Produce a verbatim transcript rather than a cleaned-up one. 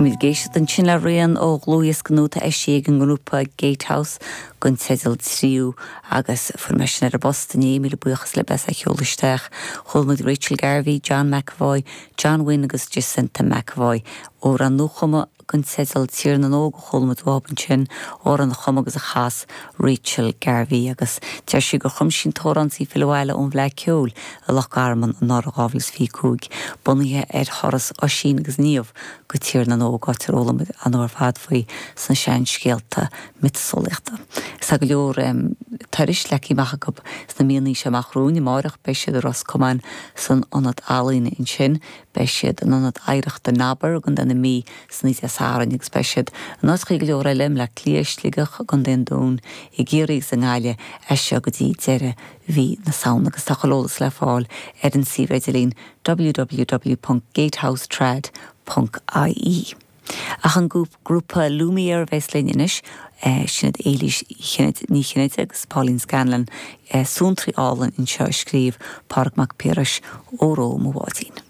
Bhí muid ag éisteacht ansin le rian ó dhlúthdhiosca nua atá eisithe ag an ngrúpa Gatehouse den teideal Tríú agus fuair mé sin ar an bpost inné míle buíochas le bes a sheol isteach. Chuala muid Rachel Garvey, John McAvoy, John Wynne agus Jacinta McAvoy amhrán nuachumtha den teideal Tír na nÓg chuala muid uathu ansin amhrán a chum agus a chas Rachel Garvey agus deir sí gur chum sí an t-amhrán is í ag filleadh abhaile ón bhFleadh Cheoil i Loch Garman anuraidh dhá mhíle is fiche cúig, bunaithe ar thuras Oisín agus Niamh go Tír na nÓg áit ar fhoghlaim an ar fad faoi sna seanscéalta miotaseolaíochta. Tá go leor um, turais leagtha amach acu sna míonna amach romhainn amárach beidh siad i Ros Comáin san ionad ealaíne ansin, beidh siad in ionad oidhreachta Nabar i gContae na Mí san oíche Sathairn agus beidh siad in áiteacha go leor eile le Cliath Sligeach Contae an Dúin i gCiarraí sa nGaillimh as seo go dtí deireadh mhí na Samhna agus tá eolas le fáil ar an suíomh idirlín www.gatehousetrad.ie. Ach an grúpa Lumiere bheas linn anois sin Éilís Ní Chinnéide agus Pauline Scanlon suantraí álainn anseo a scríobh Pádraig Mac Piarais Óró mo bháidín.